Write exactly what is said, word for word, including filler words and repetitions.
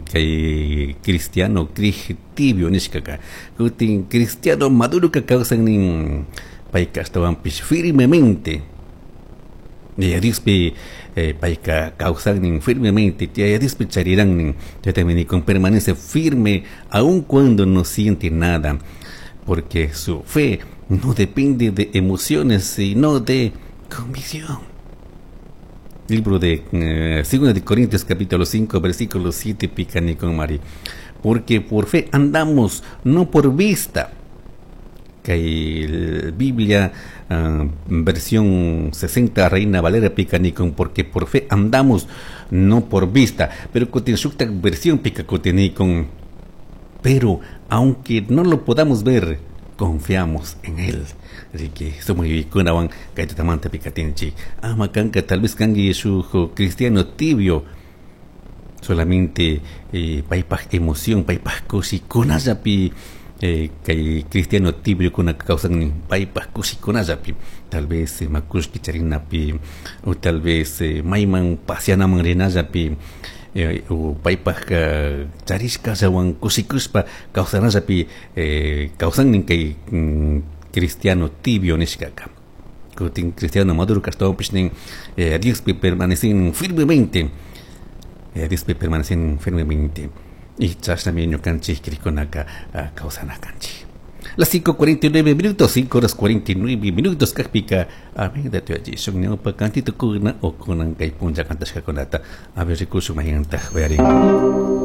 Kay cristiano crij tibio nishkaka. Kutin cristiano maduroka kawsan nin payka ashtawanpish firmemente. Yaya Diospi eh, payka kawsan firmemente, Yaya Diospi chariran nin, chaytami nikun permanece firme aun cuando no siente nada, porque su fe no depende de emociones, sino de convicción. Libro de eh, Segunda de Corintios capítulo cinco versículo siete pica con Mari. Porque por fe andamos, no por vista. Kay Biblia uh, versión sesenta Reina Valera pica nikun porque por fe andamos, no por vista. Pero kutin shuktak versión pica con pero aunque no lo podamos ver, confiamos en él. Así que somos kunawan kay tutamanta pikatinchik. Ama kanka tal vez kanki shuk cristiano tibio, solamente eh, paypaj emoción, paypaj kushikunallapi eh, kay cristiano tibio kuna kawsan paypaj kushikunallapi, tal vez eh, makushki charinapi o tal vez eh, mayman paseanaman rinallapi eh, o paypaj uh, charishkallawan kushikushpa kawsanallapi eh, kawsannin kay mm, cristiano tibio nishkaka. Kutin cristiano maduro ashtawanpish nin eh, Diospi permanecen firmemente, eh, Diospi permanecen firmemente y chashnami ñukanchik crikkunaka uh, kawsana kanchik. Las cinco cuarenta y nueve minutos, cinco horas cuarenta y nueve minutos, kajpika, amén, da tuyachishun ñawpa cantito kuna o kunan kay punlla kantashkakunata, a ver, rikushun mayqantaj uyarin.